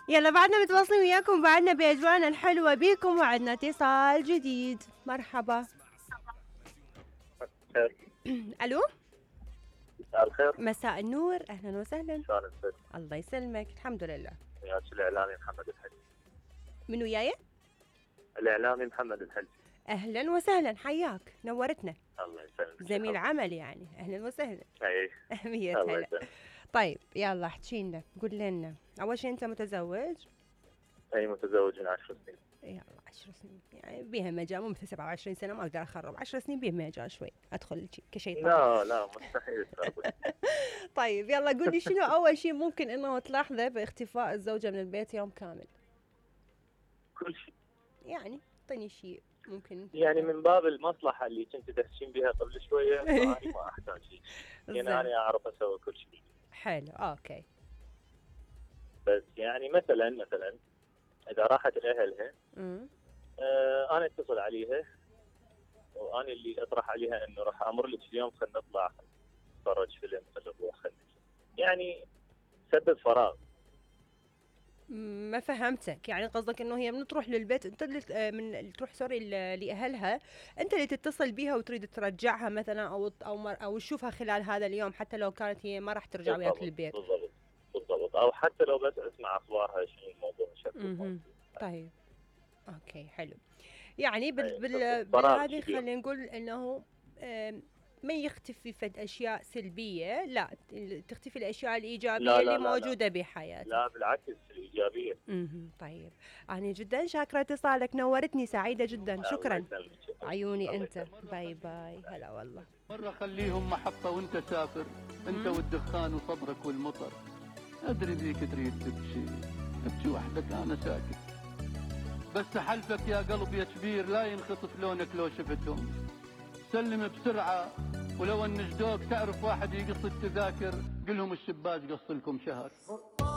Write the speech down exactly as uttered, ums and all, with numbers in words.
يلا بعدنا متواصلين وياكم، بعدنا باجوانا الحلوه بيكم، وعدنا اتصال جديد. مرحبا. خير. الو. مساء الخير. مساء النور، اهلا وسهلا. شلون انت؟ الله يسلمك، الحمد لله. وياك الاعلامي محمد الحلي. من وياي؟ الاعلامي محمد الحلي. اهلا وسهلا، حياك، نورتنا. الله يسلمك. زميل عمل يعني، اهلا وسهلا. اي مية هلا. طيب يلا احكي لنا، قول لنا اول شيء انت متزوج؟ اي متزوج من عشر سنين. يلا عشر سنين يعني بيها مجال، مو مثل سبعة وعشرين سنه ما اقدر اخرب، عشر سنين بيها مجال شوي ادخل كشيطان. لا لا مستحيل. طيب يلا قول لي شنو اول شيء ممكن انه تلاحظه باختفاء الزوجه من البيت يوم كامل؟ كل شيء يعني اعطيني شيء ممكن. يعني من باب المصلحه اللي كنت تحكين بها قبل شويه، فاني ما احتاج شيء، يعني انا اعرف اسوي كل شيء. حلو اوكي. بس يعني مثلا مثلا اذا راحت لاهلها آه انا اتصل عليها وانا اللي اطرح عليها انه راح امر لك اليوم، خلينا نطلع نتفرج فيلم، خلينا نروح، خلينا يعني سبب فراغ. ما فهمتك، يعني قصدك انه هي من تروح للبيت انت اللي من تروح سوري لاهلها، انت اللي تتصل بيها وتريد ترجعها مثلا، او او مر او تشوفها خلال هذا اليوم حتى لو كانت هي ما راح ترجع وياك للبيت. بالضبط بالضبط، او حتى لو بس اسمع اخبارها شنو الموضوع شكله. طيب اوكي حلو. يعني بال بال بهذه خلينا نقول انه ما يختفي فد اشياء سلبيه، لا تختفي الاشياء الايجابيه لا لا اللي لا موجوده لا. بحياتك. لا بالعكس الايجابيه. امم طيب انا جدا شاكره اتصالك، نورتني، سعيده جدا، شكرا. عيوني انت، باي باي. هلا والله. مره خليهم محطه وانت سافر، انت والدخان وصبرك والمطر. ادري ذيك تريد تبكي تبكي وحدك، انا ساكت، بس حلفك يا قلب يا كبير لا ينخطف لونك لو شفتهم. سلم بسرعة، ولو ان جدوك تعرف واحد يقص التذاكر، قلهم الشباك قص لكم شهر.